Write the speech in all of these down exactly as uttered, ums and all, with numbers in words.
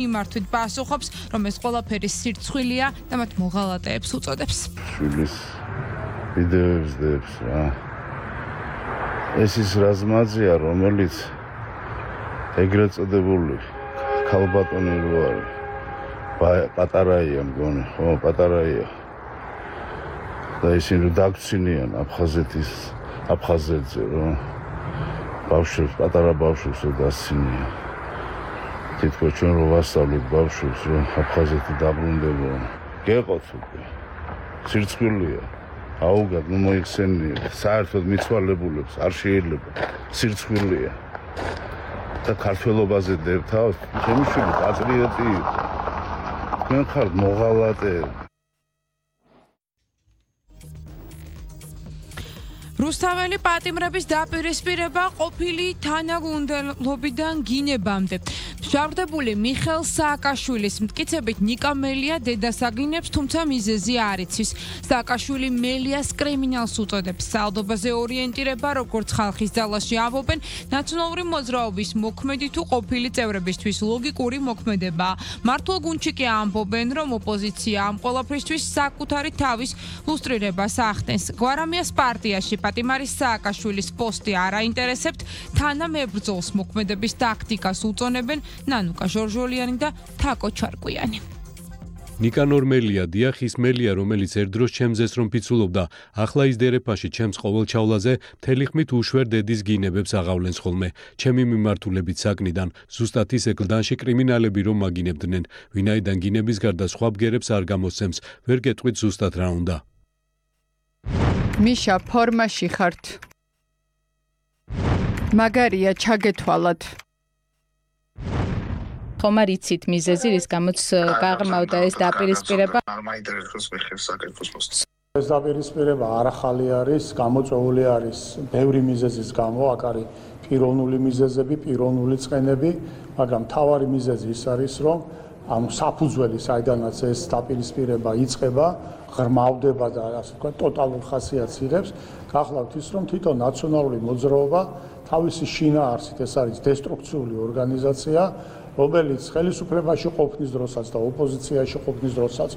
მიმართვით პასუხობს, რომ ეს ყველაფერი სირცხვილია და მათ მოღალატეებს უწოდებს. შვილის ვიდეოებს დებს რა. ეს ის რაზმაძია, რომელიც ეგრეთ წოდებული ქალბატონი რო არის. პატარაია მგონი, ხო, პატარაია. და ისინი დაგცინიან აფხაზეთის, აფხაზეთზე, რომ ბავშვებს, პატარა ბავშვებს დასცინიან. თითქოს ჩვენ რო ვასწავლეთ ბავშვებს, რომ აფხაზეთი დაბრუნდება. გეყოთ უკვე. სირცხვილია. აუგად, ნუ მოიხსენიეთ. საერთოდ მიცვალებულებს არ შეიძლება. სირცხვილია. და ქართველობაზე დებთავთ, ჩემი შვილი პატრიოტი იყო. თქვენ ხართ მოღალატეები. რუსთაველი პატიმრების დაპირისპირება ყოფილი თანაგუნდელობიდან გინებამდე. მშავდებული მიხეილ სააკაშვილის მტკიცებით ნიკა მელია დედას აგინებს, თუმცა მიზეზი არ იცის. სააკაშვილი მელიას კრიმინალს უწოდებს. საალდობაზე ორიენტირება, როგორც ხალხის ძალაში ამბობენ, ნაცნობური მოძრაობის მოქმედი თუ ყოფილი წევრებისთვის ლოგიკური მოქმედებაა. მართლ გუნდში კი ამბობენ, რომ ოპოზიცია ამ ყველაფრისთვის საკუთარი თავის ლუსტრირებას ახდენს. გვარამიას პარტიაში პატიმარის სააკაშვილის პოსტი არ აინტერესებთ, თანამებრძოლს მოქმედების ტაქტიკას უწონებენ ნანუკა ჟორჟოლიანი და თაკო ჩარკვიანი. ნიკანორ მელია დიახის მელია, რომელიც ერთდროს ჩემზეს რომ ფიცულობდა, ახლა ის დერეფაში ჩემს ყოველჩავლაზე მთელი ხმით უშვერ დედის გინებებს აღავლენს ხოლმე. ჩემი მიმართულებით საკნიდან, ზუსტად ის ეკლდანში კრიმინალები რომ მაგინებდნენ, ვინაიდან გინების გარდა სხვა ბგერებს არ გამოსცემს, ვერ გეტყვით ზუსტად რა უნდა. მიშა, ფორმაში ხართ. მაგარია, ჩაგეთვალათ. ხომ არ იცით მიზეზი, რის გამოც გაღრმავდა ეს დაპირისპირება? არ მაინტერესებს მიხეილ სააკაშვილის პოსტი. ეს დაპირისპირება არ ახალი არის, გამოწვეული არის ბევრი მიზეზის გამო, აქ არის პიროვნული მიზეზები, პიროვნული წყენები, მაგრამ მთავარი მიზეზი ის არის, რომ ანუ საფუძველი, საიდანაც ეს დაპირისპირება იწყება, ღრმავდება და ასე ვთქვათ, ტოტალურ ხასიათს იღებს, გახლავთ ის, რომ თვითონ ნაციონალური მოძრაობა თავისი შინაარსით ეს არის დესტრუქციული ორგანიზაცია, რომელიც ხელისუფლებაში ყოფნის დროსაც და ოპოზიციაში ყოფნის დროსაც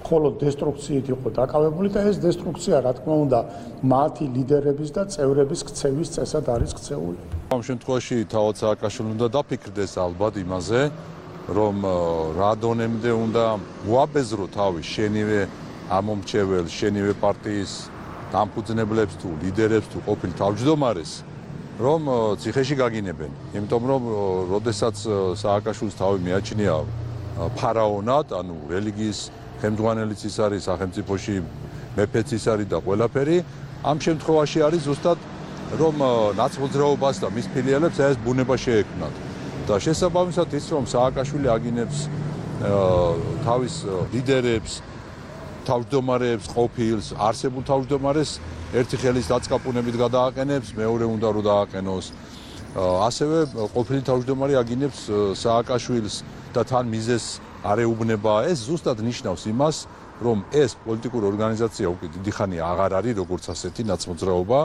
მხოლოდ დესტრუქციით იყო დაკავებული და ეს დესტრუქცია, რა თქმა უნდა, მათი ლიდერების და წევრების ქცევის წესად არის ქცეული. ამ შემთხვევაში თავად სააკაშვილი უნდა დაფიქრდეს ალბათ იმაზე, რომ რა დონემდე უნდა უაბეზრო თავის შენივე ამომრჩეველ, შენივე პარტიის დამფუძნებლებს თუ ლიდერებს თუ ყოფილ თავმჯდომარეს, რომ ციხეში გაგინებენ. იმიტომ რომ როდესაც სააკაშვილის თავი მიაჩნია ფარაონად, ანუ რელიგიის ხელმძღვანელიც ის არის, სახელმწიფოში მეფეც ის არის და ყველაფერი, ამ შემთხვევაში არის ზუსტად რომ ნაცმოძრაობას და მის ფილიალებს ეს ბუნება შეექმნათ. და შესაბამისად ის რომ სააკაშვილი აგინებს თავის ლიდერებს, თავმჯდომარეებს, ყოფილს, არსებულ თავმჯდომარეს ერთი ხელის დაწყაპუნებით გადააყენებს, მეორე უნდა რომ დააყენოს. ასევე ყოფილი თავმჯდომარე აგინებს სააკაშვილს და თან მიზეს არ ეუბნება. ეს ზუსტად ნიშნავს იმას, რომ ეს პოლიტიკური ორგანიზაცია უკვე დიდი ხანია აღარ არის როგორც ასეთი ნაცმოძრაობა.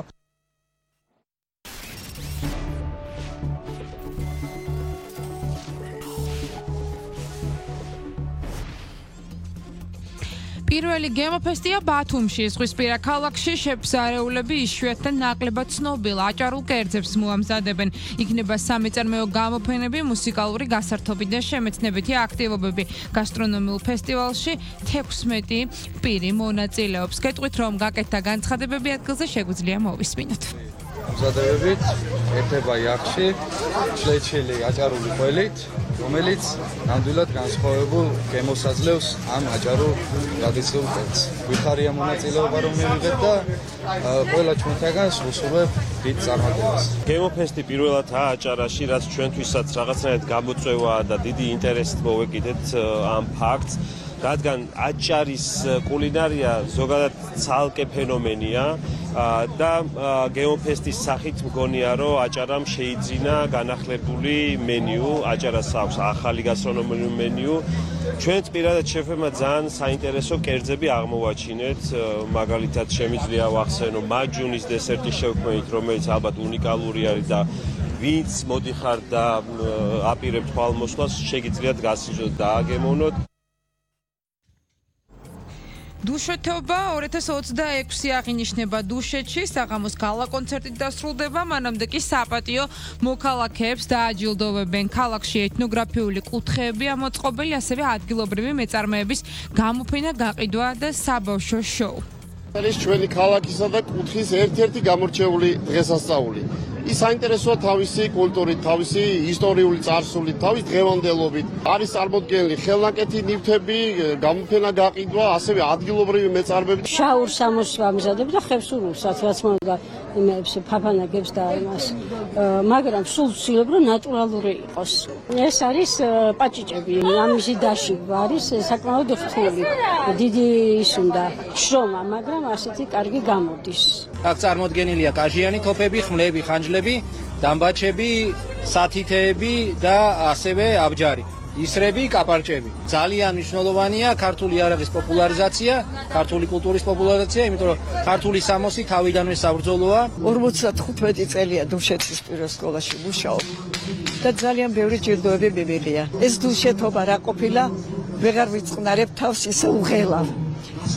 პირველი გემოფესტია ბათუმში, ზღვისპირა ქალაქში შეფსარეულები იშვიათად ნაკლებად ცნობილ აჭარულ კერძებს მოამზადებენ. იქნება სამეწარმეო გამოფენები, მუსიკალური გასართობი და შემეცნებითი აქტივობები. გასტრონომიულ ფესტივალში თექვსმეტი პირი მონაწილეობს. გეტყვით, რომ გაკეთდა განცხადებები ადგილზე შეგვიძლია მოვისმინოთ. ამზადებებით ერთება იახში, შლეჩილი აჭარული ყველით, რომელიც ნამდვილად განსხვავებულ გემოს აძლევს ამ აჭარულ ტრადიციულ კერძს. ვიხარია მონაწილეობა რომ მივიღეთ და ყველა ჩვენთაგან ვუსურვებ დიდ წარმატებას. გემოფესტი პირველადაა აჭარაში, რაც ჩვენთვისაც რაღაცნაირად გამოწვევაა და დიდი ინტერესით მოვეკიდეთ ამ ფაქტს. რადგან აჭარის კულინარია ზოგადად ცალკე ფენომენია და გემოფესტის სახით მგონია, რომ აჭარამ შეიძინა განახლებული მენიუ, აჭარას აქვს ახალი გასტრონომიული მენიუ. ჩვენც პირადად შეფერმა ძალიან საინტერესო კერძები აღმოვაჩინეთ, მაგალითად შემიძლია ვახსენო მაჯუნის დესერტის შევქმნით, რომელიც ალბათ უნიკალური არის და ვინც მოდიხარ და აპირებ თვალმოსვლას, შეგიძლიათ გასიზრდოთ და აგემოვნოთ. დუშეთობა ორი ათას ოცდაექვსი აღინიშნება დუშეთში, საღამოს გალა კონცერტით დასრულდება, მანამდე კი საპატიო მოქალაქეებს დააჯილდოვებენ. ქალაქში ეთნოგრაფიული კუთხეები ამოწყობილი, ასევე ადგილობრივი მეწარმეების გამოფენა, გაყიდვა და საბავშვო შოუ. ეს ჩვენი ქალაქისა და კუთხის ერთ-ერთი გამორჩეული დღესასწაული. ის საინტერესოა თავისი კულტურით, თავისი ისტორიული წარსულით, თავის დღევანდელობით. არის წარმოდგენილი ხელნაკეთი ნივთები, გამოფენა, გაყიდვა, ასევე ადგილობრივი მეწარმეები. შაურს ამოსვამზადებ და ხევსურულსაც, რაც მომდა იმებს ფაფანაგებს და იმას. მაგრამ სულ ვცდილობ, რომ ნატურალური იყოს. ეს არის პაჭიჭები, ამისი დაში არის საკმაოდ რთული. დიდი ის უნდა შრომა, მაგრამ ასეთი კარგი გამოდის. აქ წარმოდგენილია კაჟიანი თოფები, ხმლები, ხანჯლები, დამბაჩები, სათითეები და ასევე აბჯარი. ისრები, კაპარჭები. ძალიან მნიშვნელოვანია ქართული იარაღის პოპულარიზაცია, ქართული კულტურის პოპულარიზაცია, იმიტომ რომ ქართული სამოსი თავიდანვე საბრძოლოა. ორმოცდახუთმეტი წელია დუშეთის პირველ სკოლაში მუშაობ და ძალიან ბევრი ჯილდოები მივიღია. ეს დუშეთობა რა ყოფილა, ვეღარ ვიწყნარებ თავს ისე უღელავ.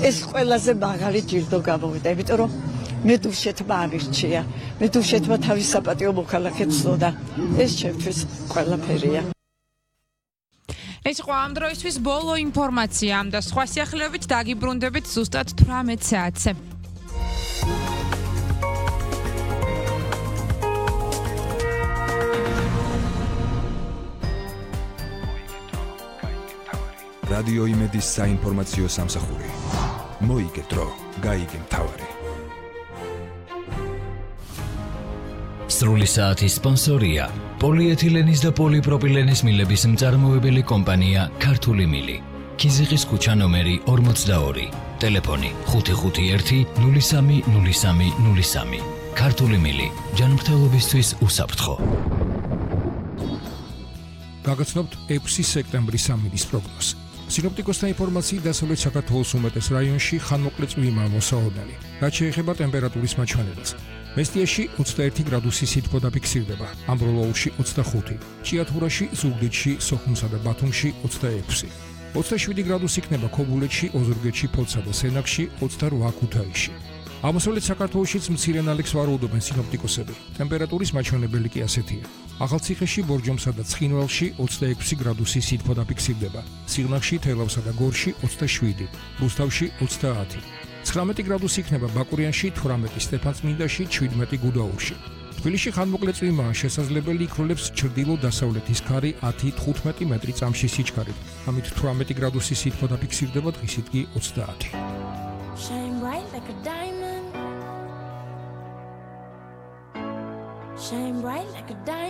ეს ყველაზე მაღალი ჯილდო გამოვიდა, იმიტომ რომ მე დუშეთმა აღირჩია. მე დუშეთმა თავის საპატიო მოქალაქეებს ცნოდა. ეს ჩემთვის ყველაფერია. ეს იყო ამ დროისთვის ბოლო ინფორმაცია, და სხვა სიახლეებით დაგიბრუნდებით ზუსტად თვრამეტ საათზე. რადიო იმედის საინფორმაციო სამსახური. მოიგე დრო, გაიგე მთავარი. სრული საათის სპონსორია პოლიეთილენის და პოლიპროპილენის მილების მწარმოებელი კომპანია ქართული მილი. ქიზიყის ქუჩა ნომერი ორმოცდაორი. ტელეფონი ხუთი ხუთი ერთი ნული სამი ნული სამი ნული სამი. ქართული მილი, ჯანმრთელობისთვის უსაფრთხო. გაგაცნობთ ექვსი სექტემბრის სამინის პროგნოზი. სინოპტიკოსთა ინფორმაციით დასავლეთ საქართველოს უმეტეს რაიონში ხანმოკლე წვიმაა მოსაოდნელი. რაც შეეხება ტემპერატურის მაჩვენებას. მესტიაში ოცდაერთი გრადუსი სითბო დაფიქსირდება, ამბროლოურში ოცდახუთი, ჭიათურაში, ზუგდიდში, სოხუმსა და ბათუმში ოცდაექვსი. ოცდაშვიდი გრადუსი იქნება ქობულეთში, ოზურგეთში, ფოთსა და სენაკში, ოცდარვა ქუთაისში. აღმოსავლეთ საქართველოშიც მცირე ნალექს ვარაუდობენ სინოპტიკოსები. ტემპერატურის მაჩვენებელი კი ასეთია. ახალციხეში, ბორჯომსა და ცხინვალში ოცდაექვსი გრადუსი სითბო დაფიქსირდება, სიღნაღში, თელავსა და გორში ოცდაშვიდი, რუსთავში ოცდაათი. ცხრამეტი გრადუსი იქნება ბაკურიანში, თვრამეტი სტეფანწმინდაში, შვიდმეტი გუდაურში. თბილისში ხანმოკლე წვიმაა, შესაძლებელი იქროლებს ჩრდილო-დასავლეთის ქარი ათი თხუთმეტი მეტრი წამში სიჩქარით. ამით თვრამეტი გრადუსი სითბო დაფიქსირდება, დღისით კი ოცდაათი. Shine bright like a diamond. Shine bright like a diamond.